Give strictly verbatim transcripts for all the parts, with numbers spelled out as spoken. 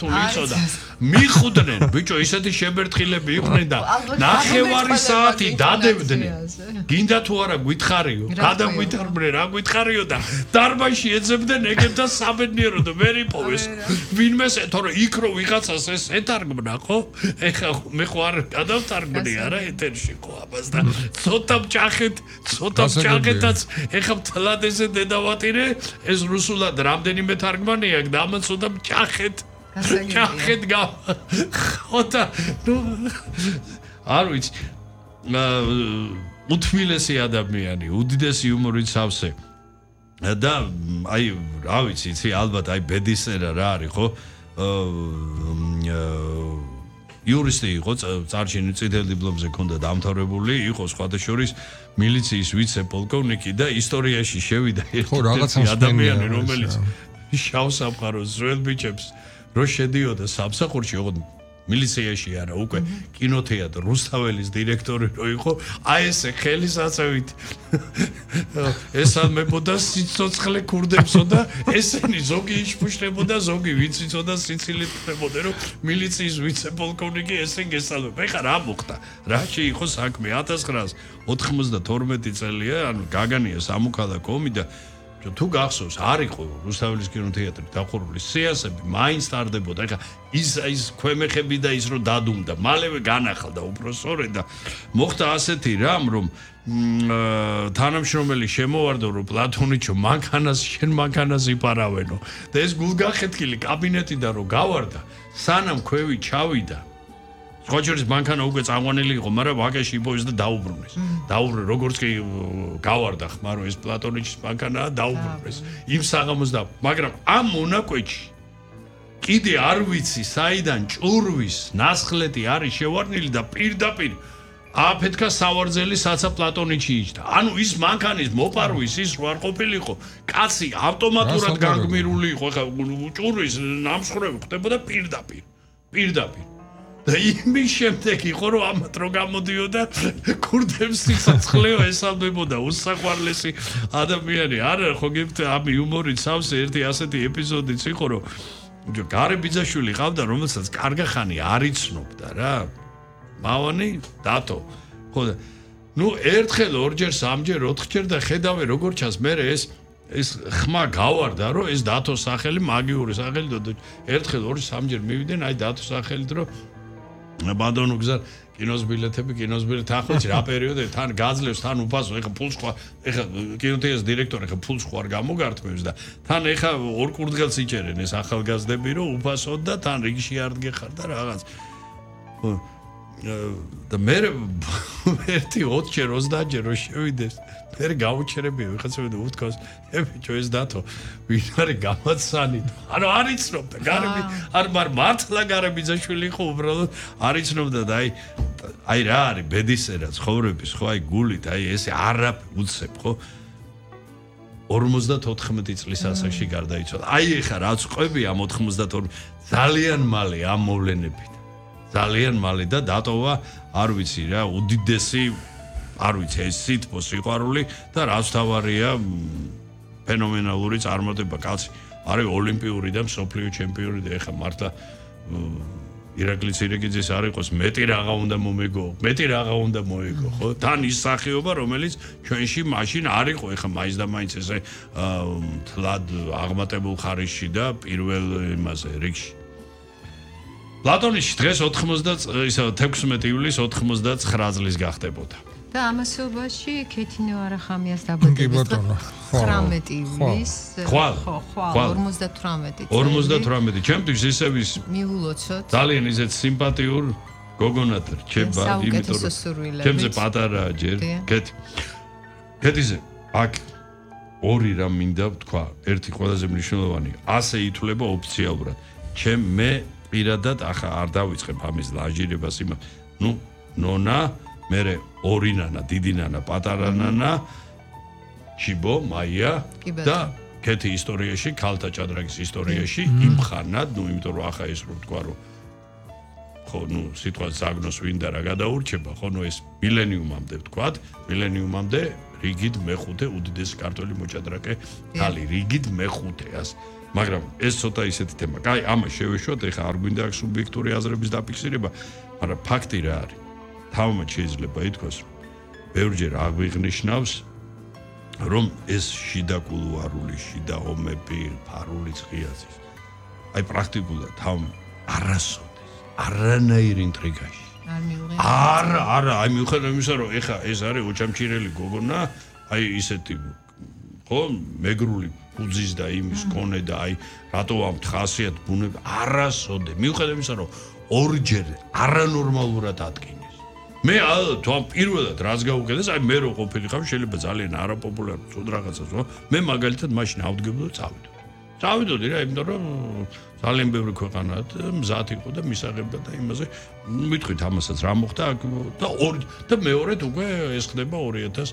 ქართული იცოდა. მიხუდნენ, ბიჭო, ისეთი შებერთხილები იყვნენ და ნახევარი საათი დადებდნენ. გინდა თუ არა გითხარიო, გადაგვითხარბნე, რა გითხარიო და დარბაზში ეძებდნენ ეგებთან საბედნიეროდ ვერ იპოვეს. ვინმეს, თორე იქ რო ვიღაცას ეს ეთარგმნა, ხო? ეხა მე ხო არ გადავთარგმნი არა ეთერში ხო აბას და ცოტა მჭახეთ, ცოტა მჭახეთაც ეხა მთლად ესე დედავატირე, ეს რუსულად რამდენიმე თარგმანი აქვს და ამან ცოტა მჭახეთ. მჭახეთ გა. ხოთა ნუ არ ვიცი. უთმილესი ადამიანი, უდიდესი იუმორით სავსე. და აი, რა ვიცი, იცი, ალბათ აი ბედისწერა რა არის, ხო? იურისტი იყო, წარჩინი წითელ დიპლომზე ჰქონდა დამთავრებული, იყო სხვათა შორის მილიციის ვიცე-პოლკოვნიკი და ისტორიაში შევიდა ერთი ადამიანი, რომელიც შავ სამყაროს ძველ ბიჭებს რო შედიოდა სამსახურში, ოღონდ მილიციაში არა, უკვე კინოთეატრ რუსთაველის დირექტორი რო იყო, აი ესე ხელისაწევით ესალმებოდა სიცოცხლე ქურდებსო და ესენი ზოგი იშფუშდებოდა, ზოგი ვინც იცოდა სიცილით ხდებოდა, რომ მილიციის ვიცე-პოლკოვნიკი ესენ გესალმება. ეხლა რა მოხდა? რაში იყო საქმე? ათას ცხრაას ოთხმოცდათორმეტი წელია, ანუ გაგანია სამოქალაქო ომი და თუ გახსოვს, არ იყო რუსთაველის კინოთეატრი დახურული, სეანსები მაინც ტარდებოდა. ეხლა ის ის ქვემეხები და ის რო დადუმდა, მალევე განახალდა უბრალოდ და მოხდა ასეთი რამ, რომ თანამშრომელი შემოვარდა, რომ პლატონიჩო მანქანას შენ მანქანას იპარავენო და ეს გულგახეთქილი კაბინეტიდან რო გავარდა, სანამ ქვევი ჩავიდა სხვაჩორის მანქანა უკვე წამყვანილი იყო, მაგრამ ვაკეში იპოვეს და დაუბრუნეს. დაუბრუნეს, როგორც კი გავარდა ხმა, რომ ეს პლატონიჩის მანქანაა, დაუბრუნეს. იმ საღამოს და მაგრამ ამ მონაკვეთში კიდე არ ვიცი, საიდან ჭურვის ნასხლეტი არის შევარდნილი და პირდაპირ აფეთქა სავარძელი საცა პლატონიჩი იჯდა. ანუ ის მანქანის მოპარვის ის რო არ ყოფილიყო, კაცი ავტომატურად განგმირული იყო, ხა ჭურვის ნამსხვრევი ხდებოდა პირდაპირ. პირდაპირ. და იმის შემდეგ იყო, რომ ამათ რო გამოდიოდა ქურდებს სიცოცხლეო ესალმებოდა უსაყვარლესი ადამიანი. არა, ხო გებთ ამ იუმორით სავსე ერთი ასეთი ეპიზოდიც იყო, რომ გარე ბიძაშვილი ყავდა, რომელსაც კარგა ხანი არ იცნობდა რა. მავანი დათო. ხო და ნუ ერთხელ, ორჯერ, სამჯერ, ოთხჯერ და ხედავე როგორ ჩანს მე ეს ეს ხმა გავარდა, რომ ეს დათოს სახელი მაგიური სახელი და ერთხელ, ორი, სამჯერ მივიდნენ, აი დათოს სახელით, რომ ბადონო გზა კინოს ბილეთები, კინოს ბილეთ ახლაც რა პერიოდია, თან გაძლევს, თან უფასო, ეხა ფულს ხო, ეხა კინოთეატრის დირექტორი ეხა ფულს ხო არ გამოგართმევს და თან ეხა ორ კურდღელს იჭერენ ეს ახალგაზრდები, რომ უფასოდ და თან რიგში არ დგეხარ და რაღაც. და მე ერთი ოცჯერ, ოცდაათჯერ რო შევიდეს, მე გავუჩერებია ვიღაცები და უთქავს, ე ბიჭო ეს დათო, ვინ არის გამაცანით? ანუ არ იცნობდა, გარები, არ მარ მართლა გარებიძაშვილი იყო უბრალოდ, არ იცნობდა და აი აი რა არის ბედისწერა ცხოვრების, ხო, აი გულით, აი ესე არაფერ უცებ, ხო? ორმოცდათოთხმეტი წლის ასაკში გარდაიცვალა. აი ეხა რაც ყვები ამ ოთხმოცდათორმეტი ძალიან მალე ამ მოვლენებით. ძალიან მალე და დატოვა, არ ვიცი რა, უდიდესი, არ ვიცი, ეს სითბო სიყვარული და რაც თავარია ფენომენალური წარმატება, კაცი. არის ოლიმპიური და მსოფლიო ჩემპიონი და ეხა მართლა ირაკლი ცირეკიძის არ იყოს, მეტი რაღა უნდა მომეგო, მეტი რაღაცა უნდა მოეგო, ხო? თან ის სახეობა, რომელიც ჩვენში მაშინ არ იყო, ეხა მაინც და მაინც ესე თლად აღმატებულ ხარისში და პირველ იმაზე რიგში. პლატონიში დღეს ოთხმოცდა ისა თექვსმეტი ივლისს ოცდათვრამეტი წლის გახდებოდა. და ამასობაში ქეთინო არახამიას დაბადების ცხრამეტი ივლისს ხო, ხო, ორმოცდათვრამეტი წელი. ორმოცდათვრამეტი ჩემთვის ისევ ის მიულოცოთ. ძალიან ისეთ სიმპათიურ გოგონად რჩება, იმიტომ რომ ჩემზე პატარაა ჯერ, ქეთი. ქეთიზე აქ ორი რამ მინდა ვთქვა, ერთი ყველაზე მნიშვნელოვანი, ასე ითვლება ოფიციალურად. ჩემ მე პირადად ახლა არ დავიწყებ ამის ლაჟირებას იმ ნუ ნონა მერე ორი ნანა დიდი ნანა პატარა ნანა ჩიბო მაია და ქეთი ისტორიაში ქალთა ჭადრაკის ისტორიაში იმ ხანად ნუ იმიტომ რომ ახლა ეს რო თქვა რომ ხო ნუ სიტყვა ზაგნოს ვინდა რა გადაურჩება ხო ნუ ეს მილენიუმამდე ვთქვათ მილენიუმამდე რიგით მეხუთე უდიდესი ქართველი მოჭადრაკე ქალი, რიგით მეხუთე ასე. მაგრამ ეს ცოტა ისეთი თემა. კაი, ამას შევეშვათ, ეხლა არ გვინდა აქ სუბიექტური აზრების დაფიქსირება, მაგრამ ფაქტი რა არის? თავმაც შეიძლება ითქვას, ბევრჯერ აღვიღნიშნავს, რომ ეს შიდა კულუარული, შიდა ომები, ფარული ღიაზის. აი პრაქტიკულად თავ არასოდეს, არანაირი ინტრიგაში. არ მიუღია. არა, არა, აი მიუხედავად იმისა, რომ ეხა ეს არის ოჩამჩირელი გოგონა, აი ისეთი ხო, მეგრული ფუძის და იმის კონე და აი რატო ამ ხასიათ ბუნება არასოდე. მიუხედავად იმისა, რომ ორჯერ არანორმალურად ატკინეს. მე თვითონ პირველად რაც გაუკეთეს, აი მე რო ყოფილიყავ, შეიძლება ძალიან არაპოპულარული წოდ რაღაცას, ხო? მე მაგალითად მაშინ ავდგებოდი და წავიდოდი. წავიდოდი რა, იმიტომ რომ ძალიან ბევრი ქვეყანა მზად იყო და მისაღებდა და იმაზე მithქვით ამასაც რა მოხდა და ორი და მეორედ უკვე ეს ხდება ორი ათას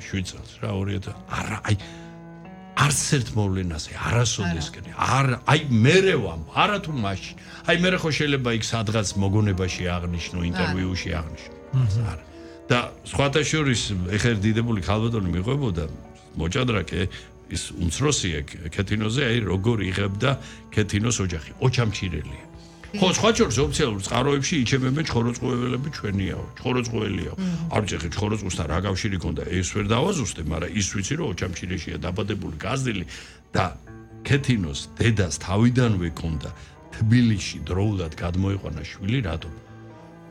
შვიდ წელს რა ორი ათას არა აი არც ერთ მოვლენაზე არასოდესკენ არა აი მერე ვამ არა თუ მაშინ აი მერე ხო შეიძლება იქ სადღაც მოგონებაში აღნიშნო ინტერვიუში აღნიშნო არა და სხვათა შორის ეხერ დიდებული ქალბატონი მიყვებოდა მოჭადრაკე ის უმცროსია ქეთინოზე აი როგორ იღებდა ქეთინოს ოჯახი ოჩამჩირელია ხო სხვა შორის ოფიციალურ წყაროებში იჩემებენ ჩხოროწყუელები ჩვენიაო ჩხოროწყუელიაო არ ვიცი ხე ჩხოროწყუსთან რა კავშირი ქონდა ეს ვერ დავაზუსტე მაგრამ ის ვიცი რომ ოჩამჩირეშია დაბადებული გაზდილი და ქეთინოს დედას თავიდანვე ქონდა თბილისში დროულად გადმოიყვანა შვილი რატომ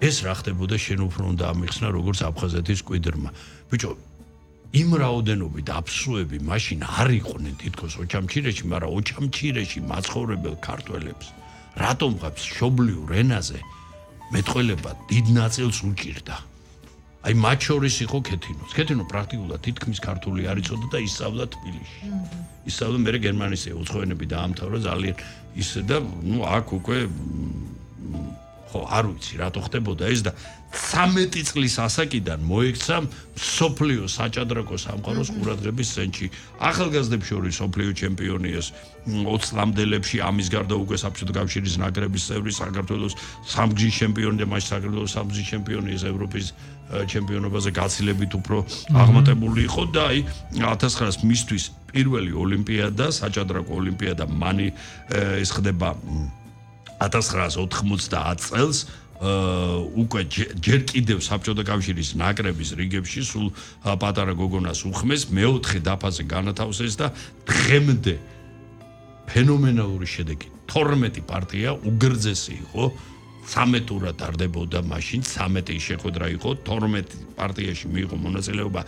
ეს რა ხდებოდა შენ უფრო უნდა ამიხსნა როგორც აფხაზეთის კვიდრმა ბიჭო იმ რაოდენობით აფსუები მაშინ არ იყვნენ თითქოს ოჩამჩირეში, მაგრამ ოჩამჩირეში მაცხოვრებელ ქართველებს რატომ ღებს შობლიურ ენაზე მეტყველება დიდ ნაწილს უჭირდა. აი მათ შორის იყო ქეთინოს. ქეთინო პრაქტიკულად თითქმის ქართული არ იცოდა და ისწავლა თბილისში. ისწავლა მე გერმანიის უცხოენები დაამთავრა ძალიან ისე და ნუ აქ უკვე ხო არ ვიცი რატო ხდებოდა ეს და ცამეტი წლის ასაკიდან მოექცა სოფლიო საჭადრაკო სამყაროს ყურადღების ცენტრში. ახალგაზრდებს შორის სოფლიო ჩემპიონი ეს ოცს ლამდელებში ამის გარდა უკვე საბჭოთა კავშირის ნაკრების წევრი საქართველოს სამგზის ჩემპიონი და მაშინ საქართველოს სამგზის ჩემპიონი ეს ევროპის ჩემპიონობაზე გაცილებით უფრო აღმატებული იყო და აი ათას ცხრაას მისთვის პირველი ოლიმპიადა საჭადრაკო ოლიმპიადა მანი ეს ხდება ათას ცხრაას ოთხმოცდაათ წელს უკვე ჯერ კიდევ საბჭოთა კავშირის ნაკრების რიგებში სულ პატარა გოგონას უხმეს მეოთხე დაფაზე განათავსეს და დღემდე ფენომენალური შედეგი თორმეტი პარტია უგრძესი იყო ცამეტურად ტარდებოდა მაშინ ცამეტი შეხვედრა იყო თორმეტი პარტიაში მიიღო მონაწილეობა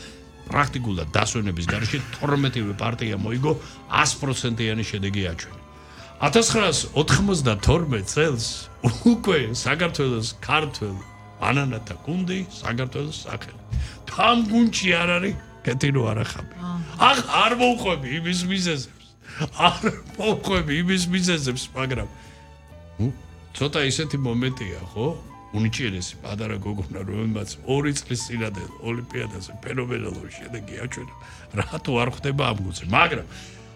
პრაქტიკულად დასვენების გარეშე თორმეტივე პარტია მოიგო ას პროცენტიანი შედეგი აჩვენა ათას ცხრაას ოთხმოცდათორმეტ წელს უკვე საქართველოს ქართველ ბანანათა გუნდი საქართველოს სახელი. თან გუნდში არ არის ქეთინო არახაბი. ახ არ მოვყვები იმის მიზეზებს. არ მოვყვები იმის მიზეზებს, მაგრამ ცოტა ისეთი მომენტია, ხო? უნიჭიერესი პატარა გოგონა, რომელმაც ორი წლის წინადელ ოლიმპიადაზე ფენომენალური შედეგი აჩვენა. რატო არ ხდება ამ გუნდზე? მაგრამ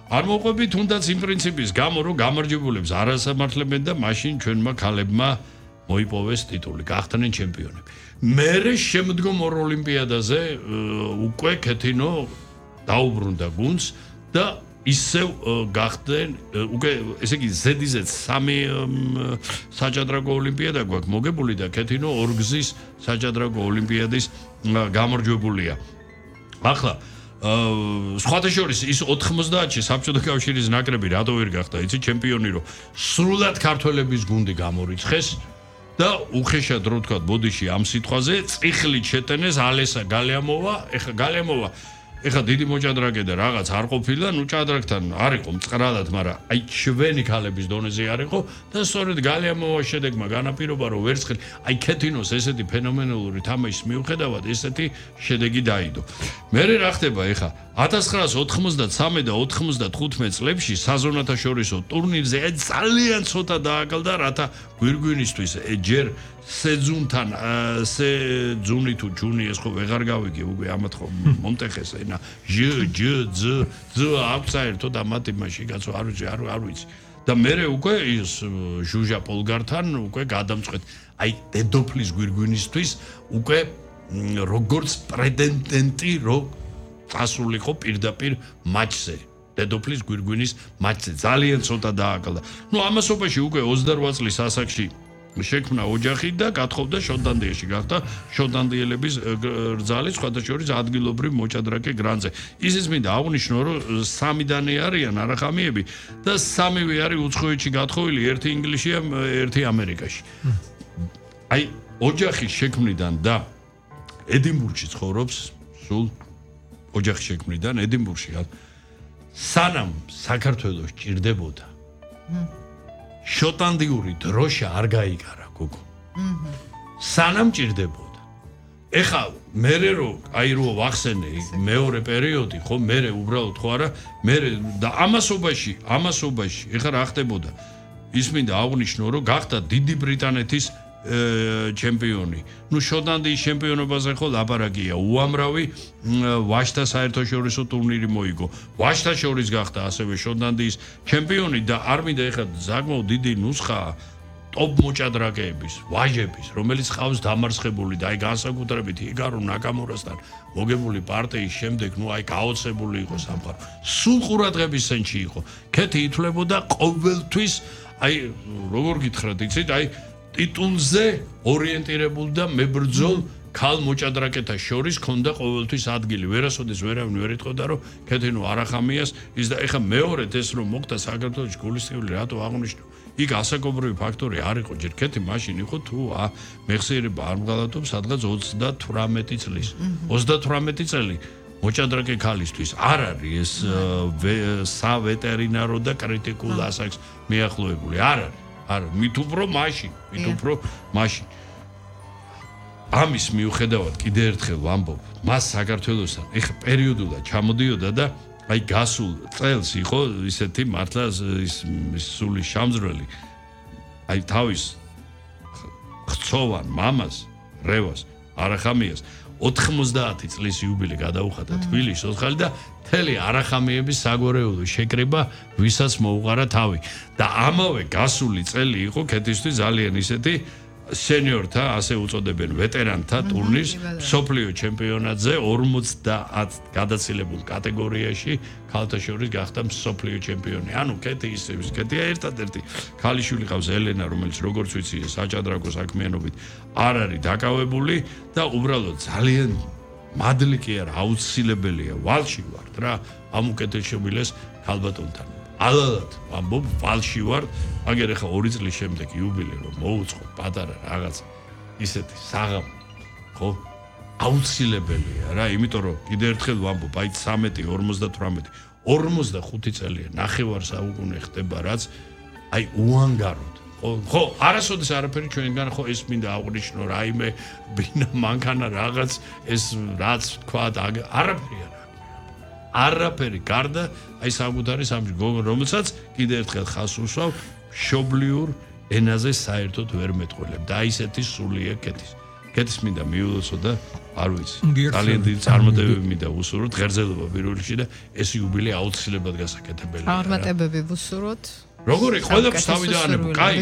არ მოყვები თუნდაც იმ პრინციპის გამო რომ გამარჯვებულებს არ ასამართლებენ და მაშინ ჩვენმა ქალებმა მოიპოვეს ტიტული, გახდნენ ჩემპიონები. მერე შემდგომ ორ ოლიმპიადაზე უკვე ქეთინო დაუბრუნდა გუნდს და ისევ გახდნენ უკვე ესე იგი ზედიზედ სამი საჭადრაკო ოლიმპიადა გვაქვს მოგებული და ქეთინო ორგზის საჭადრაკო ოლიმპიადის გამარჯვებულია. ახლა სხვათა შორის ის ოთხმოცდაათში საბჭოთა კავშირის ნაკრები რატო ვერ გახდა იცი ჩემპიონი რომ სრულად ქართველების გუნდი გამორიცხეს და უხეშად რო თქვა ბოდიში ამ სიტყვაზე წიხლით შეტენეს ალესა გალეამოვა ეხა გალეამოვა ეხა დიდი მოჭადრაკე და რაღაც არ ყოფილა ნუ ჭადრაკთან არ იყო მწყრადად მაგრამ აი ჩვენი ქალების დონეზე არ იყო და სწორედ გალეამოვას შედეგმა განაპირობა რომ ვერცხელი აი ქეთინოს ესეთი ფენომენალური თამაშის მიუხედავად ესეთი შედეგი დაიდო მერე რა ხდება ეხა ათას ცხრაას ოთხმოცდათსამი და ოთხმოცდათხუთმეტ წლებში საზონათაშორისო ტურნირზე ძალიან ცოტა დააკლდა რათა გვირგვინისთვის ჯერ სეძუნთან სეძუნი თუ ჯუნი ეს ხო ვეღარ გავიგე უკვე ამათ ხო მომტეხეს ენა ჟ ჯ ძ ძ აფსაერთო და მათი მაშინ კაცო არ ვიცი არ არ ვიცი და მერე უკვე ის ჟუჟა პოლგართან უკვე გადამწყვეტ აი დედოფლის გვირგვინისთვის უკვე როგორც პრეტენდენტი რო წასულიყო პირდაპირ მატჩზე. დედოფლის გვირგვინის მატჩზე ძალიან ცოტა დააკლდა. ნუ ამასობაში უკვე ოცდაოთხ წლის ასაკში შექმნა ოჯახი და გათხოვდა შოტლანდიაში, გახდა შოტლანდიელების რძალი, სხვათა შორის ადგილობრივ მოჭადრაკე გრანზე. ისიც მინდა აღვნიშნო, რომ სამიდანე არიან არახამიები და სამივე არის უცხოეთში გათხოვილი, ერთი ინგლისშია, ერთი ამერიკაში. აი, ოჯახის შექმნიდან და ედინბურგში ცხოვრობს, სულ ოჯახის შექმნიდან ედინბურგში სანამ საქართველოს ჭირდებოდა შოტლანდიური დროშა არ გაიგარა გოგო. სანამ ჭირდებოდა. ეხა მერე რო აი რო ვახსენე მეორე პერიოდი, ხო მერე უბრალოდ ხო არა, მერე და ამასობაში, ამასობაში ეხა რა ხდებოდა? ის მინდა აღვნიშნო, რომ გახდა დიდი ბრიტანეთის ჩემპიონი. ნუ შოტლანდიის ჩემპიონობაზე ხო ლაპარაკია. უამრავი ვაჟთა საერთაშორისო ტურნირი მოიგო. ვაჟთა შორის გახდა ასევე შოტლანდიის ჩემპიონი და არ მინდა ეხლა საკმაოდ დიდი ნუსხაა ტოპ მოჭადრაკეების, ვაჟების, რომელიც ყავს დამარცხებული და აი განსაკუთრებით იგარო ნაკამურასთან მოგებული პარტიის შემდეგ, ნუ აი გაოცებული იყო სამყარო. სულ ყურადღების ცენტრში იყო. ქეთი ითვლებოდა ყოველთვის, აი როგორ გითხრათ, იცით, აი ტიტულზე ორიენტირებულ და მებრძოლ ქალ მოჭადრაკეთა შორის ქონდა ყოველთვის ადგილი. ვერასოდეს ვერავინ ვერ იტყოდა, რომ ქეთინო არახამიას ის და ეხა მეორედ ეს რომ მოხდა საქართველოს გულისხმული რატო აღნიშნო? იქ ასაკობრივი ფაქტორი არ იყო, ჯერ ქეთი მაშინ იყო თუ ა მეხსიერება არ მღალატობს სადღაც ოცდათვრამეტი წლის. ოცდათვრამეტი წელი მოჭადრაკე ქალისთვის არ არის ეს სავეტერინარო და კრიტიკულ ასაკს მიახლოებული. არ არის. არა, მით უფრო მაშინ, მით უფრო მაშინ. ამის მიუხედავად კიდე ერთხელ ვამბობ, მას საქართველოსთან ეხა პერიოდულად ჩამოდიოდა და აი გასულ წელს იყო ისეთი მართლა ის სული შამძრელი. აი თავის ხცოვან მამას, რევას, არახამიას ოთხმოცდაათი წლის იუბილე გადაუხადა თბილისში ოთხალი და მთელი არახამიების საგვარეულო შეკრება ვისაც მოუყარა თავი და ამავე გასული წელი იყო ქეთისთვის ძალიან ისეთი სენიორთა ასე უწოდებენ ვეტერანთა ტურნირს მსოფლიო ჩემპიონატზე ორმოცდაათ გადაცილებულ კატეგორიაში ქალთა შორის გახდა მსოფლიო ჩემპიონი. ანუ ქეთი ისე ქეთია ერთადერთი ქალიშვილი ყავს ელენა, რომელიც როგორც ვიცი საჭადრაკო საქმიანობით არ არის დაკავებული და უბრალოდ ძალიან მადლი კი არა, აუცილებელია ვალში ვარ რა ამ უკეთესობილეს ქალბატონთან. ალალად ამბობ ვალში ვარ, აგერ ახლა ორი წლის შემდეგ იუბილე რომ მოუწყო პატარა რაღაც ისეთი საღამო, ხო? აუცილებელია რა, იმიტომ რომ კიდე ერთხელ ვამბობ, აი ცამეტი, ორმოცდათვრამეტი, ორმოცდახუთი წელია, ნახევარ საუკუნე ხდება რაც აი უანგაროდ. ხო, არასოდეს არაფერი ჩვენგან ხო ეს მინდა აღვნიშნო, რაიმე ბინა მანქანა რაღაც ეს რაც თქვა არაფერი არა. არაფერი გარდა აი საკუთარი სამი გოგო რომელსაც კიდე ერთხელ ხას უსვავ მშობლიურ ენაზე საერთოდ ვერ მეტყველებ და აი ესეთი სულია კეთის. კეთის მინდა მიულოცო და არ ვიცი. ძალიან დიდი წარმატებები მინდა უსურვოთ ღერძელობა პირველ რიგში და ეს იუბილე აუცილებლად გასაკეთებელია. წარმატებები ვუსურვოთ. როგორი ყველაფერს თავიდანებო. კაი,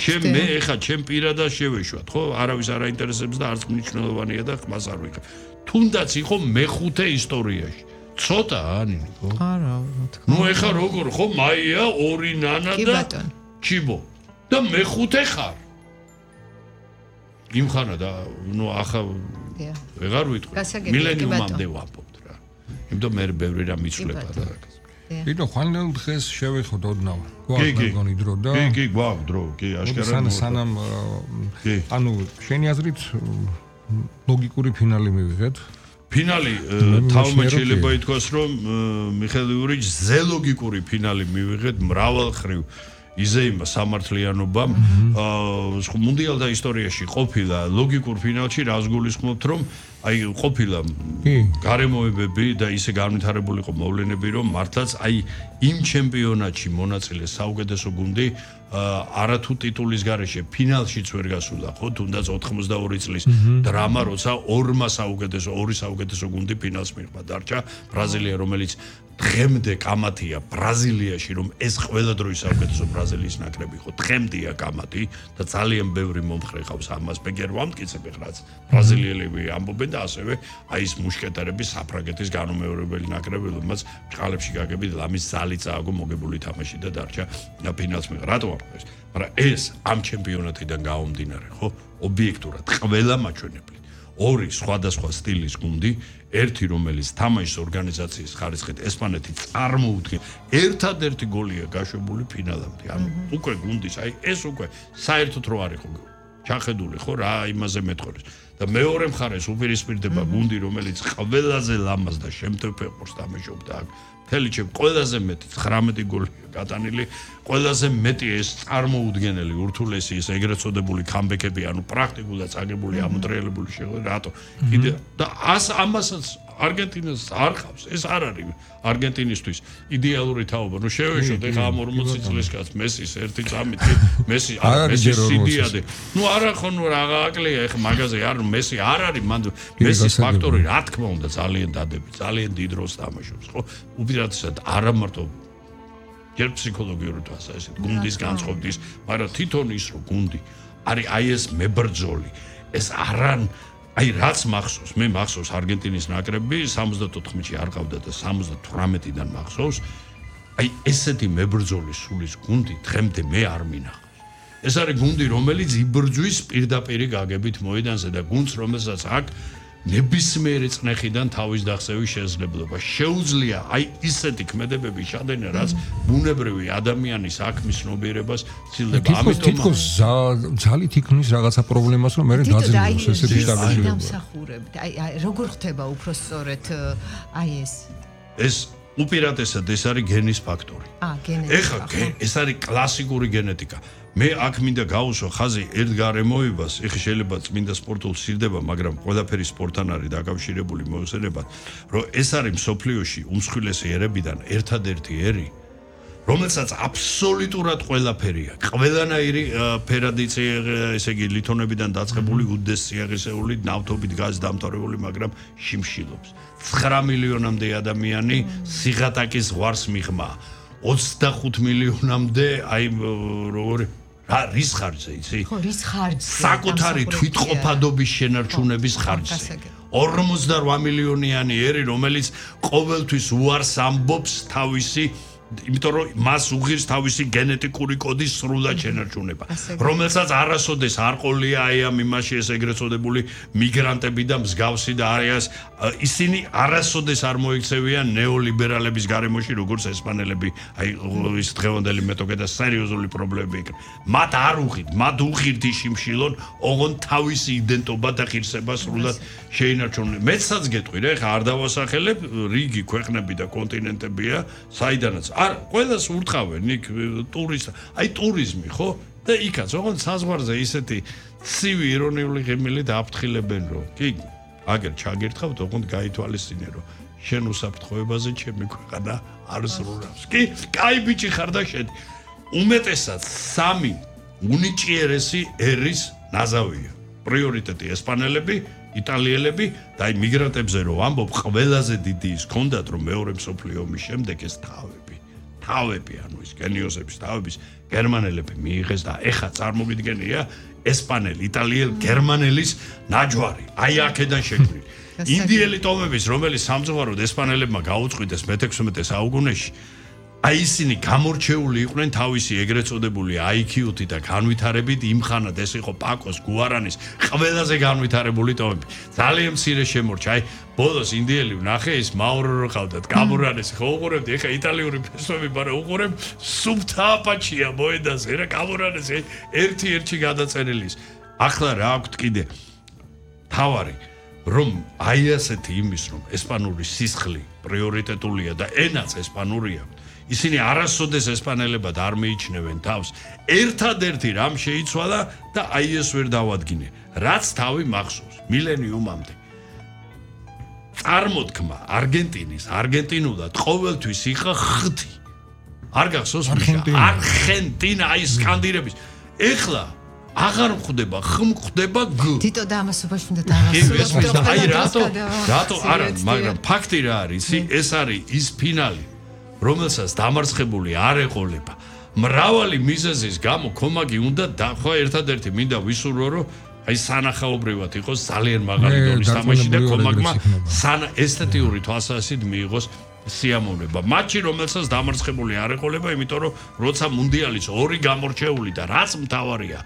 ჩემ მე ეხა ჩემ პირადად შევეშვათ, ხო? არავის არ აინტერესებს და არც მნიშვნელოვანია და ხმას არ ვიღებ. თუნდაც იყო მეხუთე ისტორიაში. ცოტა ანინი ხო? არა, რა თქმა უნდა. ნუ ეხა როგორ ხო მაია ორი ნანა და ჩიბო და მეხუთე ხარ. იმხანა და ნუ ახლა ვეღარ ვიტყვი. მილენიუმამდე ვამბობთ რა. იმიტომ მე ბევრი რამ მიცვლება და რა. იდო ხანელ დღეს შევეხოთ ოდნავ. გვაქვს მეგონი დრო და კი, კი, გვაქვს დრო, კი, აშკარად. სანამ ანუ შენი აზრით ლოგიკური ფინალი მივიღეთ? ფინალი თავმე შეიძლება ითქვას რომ მიხეილ იურიჩ ზე ლოგიკური ფინალი მივიღეთ მრავალხრივ იზეიმა სამართლიანობამ მუნდიალთა ისტორიაში ყოფილა ლოგიკურ ფინალში რას გულისხმობთ რომ აი ყოფილა გარემოებები და ისე განვითარებული იყო მოვლენები რომ მართლაც აი იმ ჩემპიონატში მონაწილე საუკეთესო გუნდი არათუ ტიტულის გარეშე ფინალშიც ვერ გასულა, ხო, თუნდაც ოთხმოცდაორი წლის დრამა, როცა ორმა საუკეთესო, ორი საუკეთესო გუნდი ფინალს მიღება. დარჩა ბრაზილია, რომელიც დღემდე კამათია ბრაზილიაში, რომ ეს ყველა დროის საუკეთესო ბრაზილიის ნაკრები იყო. დღემდეა კამათი და ძალიან ბევრი მომხრე ყავს ამას. ბეგერ ვამტკიცებ ეხლაც ბრაზილიელები ამბობენ და ასევე აი ეს მუშკეტერები საფრანგეთის განუმეორებელი ნაკრები, რომელსაც ბრალებში გაგებით ლამის ზალი წააგო მოგებული თამაში და დარჩა ფინალს მიღა. რატო ამბობ ეს? მაგრამ ეს ამ ჩემპიონატიდან გამომდინარე, ხო? ობიექტურად ყველა მაჩვენებლით ორი სხვადასხვა სტილის გუნდი, ერთი რომელიც თამაშის ორგანიზაციის ხარისხით ესპანეთი წარმოუდგენ, ერთადერთი გოლია გაშვებული ფინალამდე. ანუ უკვე გუნდის, აი ეს უკვე საერთოდ რო არ იყო ჩახედული, ხო, რა იმაზე მეტყორეს. და მეორე მხარეს უპირისპირდება გუნდი, რომელიც ყველაზე ლამაზ და შემტევ ფეხბურთს თამაშობდა აქ. მთელი ჩემ ყველაზე მეტი ცხრამეტი გოლია გატანილი, ყველაზე მეტი ეს წარმოუდგენელი ურთულესი ეს ეგრეთ წოდებული კამბეკები, ანუ პრაქტიკულად წაგებული, ამოტრიალებული შეღო, რატო? კიდე და ას ამასაც არგენტინას არ ხავს. ეს არ არის არგენტინისთვის იდეალური თაობა. ნუ შევეშოთ ეხა ამ ორმოცი წლის კაცს მესის ერთი წამით, მესი არ მესის სიდიადე. ნუ არა ხო ნუ რაღა აკლია ეხა მაგაზე არ მესი არ არის მან მესის ფაქტორი რა თქმა უნდა ძალიან დადები, ძალიან დიდ როლს თამაშობს, ხო? უპირატესად არა მარტო ჯერ ფსიქოლოგიური თვალსაზრისით, გუნდის განწყობის, მაგრამ თვითონ ის რო გუნდი არის აი ეს მებრძოლი, ეს არან აი რაც მახსოვს, მე მახსოვს არგენტინის ნაკრები სამოცდაოთხში არ ყავდა და სამოცდათვრამეტიდან მახსოვს, აი ესეთი მებრძოლი სულის გუნდი დღემდე მე არ მინახავს. ეს არის გუნდი, რომელიც იბრძვის პირდაპირ გაგებით მოედანზე და გუნდს, რომელსაც აქ ნებისმიერი წნეხიდან თავის დახსევის შესაძლებლობა შეუძლია აი ისეთი ქმედებები შადენა, რაც ბუნებრივი ადამიანის აქმის ცნობიერებას ცილდება. ამიტომ თითქოს ძალით იქნის რაღაცა პრობლემას, რომ მე დაძინოს ესეთი შტაბები. დამსახურებთ. აი როგორ ხდება უფრო სწორედ აი ეს? ეს უპირატესად ეს არის გენის ფაქტორი. აა, გენეტიკა. ეხლა ეს არის კლასიკური გენეტიკა. მე აქ მინდა გავუსვა ხაზი ერთ გარემოებას, ეხლა შეიძლება წმინდა სპორტულ სირდება, მაგრამ ყველაფერი სპორტთან არის დაკავშირებული მოიხსენებათ, რომ ეს არის მსოფლიოში უმსხვილესი ერებიდან ერთადერთი ერი, რომელსაც აბსოლუტურად ყველაფერი აქვს. ყველანაირი ფერადიცე, ესე იგი ლითონებიდან დაწყებული უდეს სიაღისეული, ნავთობით გაზ დამთავრებული, მაგრამ შიმშილობს. ცხრა მილიონამდე ადამიანი სიღატაკის ზღვარს მიღმა. ოცდახუთ მილიონამდე აი როგორი რა რის ხარჯზე იცი? ხო, რის ხარჯზე? საკუთარი თვითყოფადობის შენარჩუნების ხარჯზე. ორმოცდარვა მილიონიანი ერი, რომელიც ყოველთვის უარს ამბობს თავისი, იმიტომ რომ მას უღირს თავისი გენეტიკური კოდის სრულად შენარჩუნება, რომელსაც არასოდეს არ ყოლია აი ამ იმაში ეს ეგრეთ წოდებული მიგრანტები და მსგავსი და არიან ისინი არასოდეს არ მოიქცევიან ნეოლიბერალების გარემოში, როგორც ესპანელები, აი ის დღევანდელი მეტოქე და სერიოზული პრობლემები იქ. მათ არ უღირთ, მათ უღირთ შიმშილონ, ოღონ თავისი იდენტობა და ღირსება სრულად შეინარჩუნონ. მეცაც გეტყვი რა, ხა არ დავასახელებ, რიგი ქვეყნები და კონტინენტებია, საიდანაც არ ყველას ურტყავენ იქ ტურისტ, აი ტურიზმი, ხო? და იქაც, ოღონდ საზღვარზე ისეთი ცივი ირონიული ღიმილი დააფრთხილებენ, რომ კი, აგერ ჩაგერთხავთ, ოღონდ გაითვალისწინე, რომ შენ უსაფრთხოებაზე ჩემი ქვეყანა არ ზრუნავს. კი, კაი ბიჭი ხარ და შედი. უმეტესად სამი უნიჭიერესი ერის ნაზავია. პრიორიტეტი ესპანელები, იტალიელები და აი მიგრანტებზე რომ ამბობ, ყველაზე დიდი ის ქონდათ, რომ მეორე მსოფლიო ომის შემდეგ ეს თავები თავები, ანუ ის გენიოსების თავების გერმანელები მიიღეს და ეხა წარმოგიდგენია ესპანელი, იტალიელი, გერმანელის ნაჯვარი. აი აქედან შეგვიძლია. ინდიელი ტომების, რომელიც სამწუხაროდ ესპანელებმა გაუწყვიტეს მეთექვსმეტე საუკუნეში, აი ისინი გამორჩეული იყვნენ თავისი ეგრეთ წოდებული აი კიუ-ით და განვითარებით, იმხანად ეს იყო პაკოს, გუარანის ყველაზე განვითარებული ტომები. ძალიან მცირე შემორჩა. აი ბოლოს ინდიელი ვნახე ის მაურო ყავდათ, კამურანეს ხო უყურებდი, ეხა იტალიური ფესვები, მაგრამ უყურებ სუფთა აპაჩია მოედანზე, რა კამურანეს ერთი-ერთი გადაწერილი. ახლა რა აქვთ კიდე თავარი, რომ აი ასეთი იმის, რომ ესპანური სისხლი პრიორიტეტულია და ენაც ესპანურია. ისინი არასოდეს ესპანელებად არ მიიჩნევენ თავს. ერთადერთი რამ შეიცვალა და აი ეს ვერ დავადგინე. რაც თავი მახსოვს მილენიუმამდე. წარმოთქმა არგენტინის, არგენტინულად ყოველთვის იყო ხუთი. არ გახსოვს არგენტინა აი სკანდირების ეხლა აღარ მხვდება ხმ ხდება გ თითო და ამასობაში უნდა დავასრულო აი რატო რატო არა მაგრამ ფაქტი რა არის ეს არის ის ფინალი რომელსაც დამარცხებული არ ეყოლება მრავალი მიზეზის გამო კომაგი უნდა და ხო ერთადერთი მინდა ვისურვო რომ აი სანახაობრივად იყოს ძალიან მაღალი დონის თამაში და კომაგმა სანა ესთეტიური თვალსაზრისით მიიღოს სიამოვნება მატჩი რომელსაც დამარცხებული არ ეყოლება იმიტომ რომ როცა მუნდიალის ორი გამორჩეული და რაც მთავარია